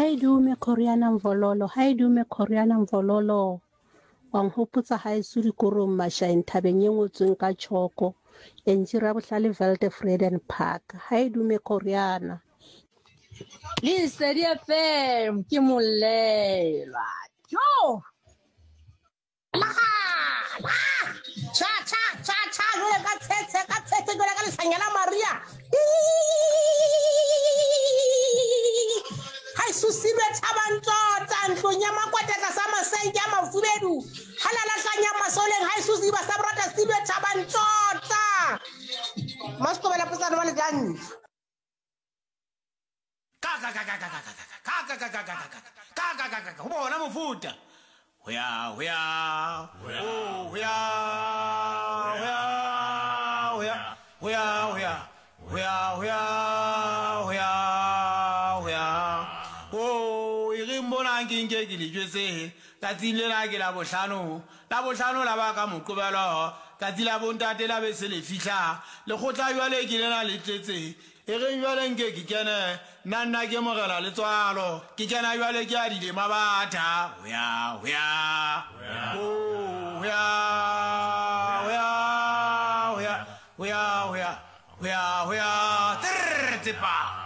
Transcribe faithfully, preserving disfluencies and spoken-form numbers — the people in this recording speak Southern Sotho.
Ha e dume Khoriana Mvololo, ha e dume Khoriana Mvololo. Wa nhopotsa haeso dikorong Mashaeng thabeng e ngotsweng ka tjhoko. Entši Rabohlale Weltevreden Park. Ha e dume Khoriana. Lesedi F M ke molelwa. Jo! La! Cha cha cha cha jwale ka tshetshe ka tshetshe jwale ka lehlanya la Maria. Ha e susilwe thabang tsotsa ntlong ya makwata tlasa masenke a mafubedu. Ha la lahlanya masoleng ha e susiba sa borata silwe thabang tsotsa. Maskobela potsana wa lejang. Ka ka ka ka ka ka ka ka ka ka ka ka ka ka ka ka ka ka ho bona mofuta. Ho ya ho ya ho ya ho ya ho ya ho ya ho ya ho ya ho ya ho ya ho ya o e re mbona ke nke ke le jwetse tsatsing lena ke la bohlano la bohlano la ba ka Moqobelo tsatsi la bontate la be se le fihla lekgotla jwale ke lena le tletse e re jwale nke ke kene nna nna ke morena letswalo ke kena jwale ke a dilema batha ho ya ho ya ho ya ho ya ho ya ho ya ho ya ho ya ho ya tsepa.